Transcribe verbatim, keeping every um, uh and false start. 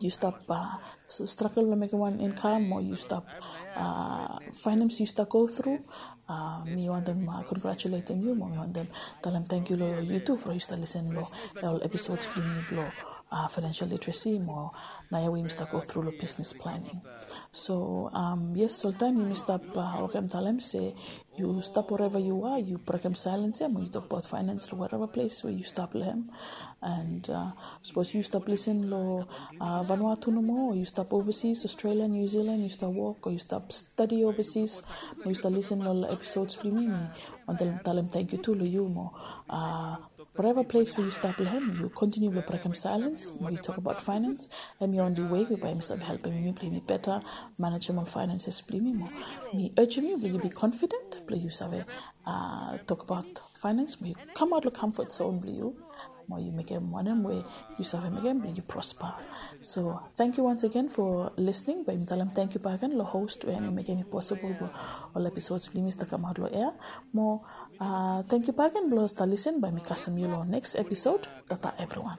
yu stap stragel long mekim wan income, o yu stap fainans yu stap go thru, mi wantem congratulatem yu, mo mi wantem talem tangkiu long yu tu from yu stap lisen long ol episodes blong mi blong financial literacy, mo naoia we yumi stap go thru long business planning. So yes, oltaem yumi stap wokem talem se yu stap wherever yu are, yu brekem silence ya mo yu tokbaot finance long wherever place we yu stap long hem. And sapos yu stap lisen long Vanuatu nomo, o yu stap overseas, Australia, New Zealand, yu stap wok, o yu stap stadi overseas, mo yu stap lisen long ol episodes blong mi, mi wantem talem tangkiu tu long yu mo whatever place we yu stap long hem, yu kontiniu blong brekem silence mo yu tokbaot finance. Hemi only way we bae mi save helpem yumi blong yumi beta manejem ol finances blong yumi mo mi urgem yu blong yu be confident blong yu save tokbaot finance mo yu kamaot long comfort zone blong yu, mo yu mekem wanem we yu save mekem blong yu prosper. So thank you once again for listening. Bae mi talem tangkiu bakegen long host we hemi mekem i possible blong ol episodes blong yumi stap kamaot long air. Mo tangkiu bakegen blong stap lisen. Bae mi kasem yu long next episode. Tata evriwan.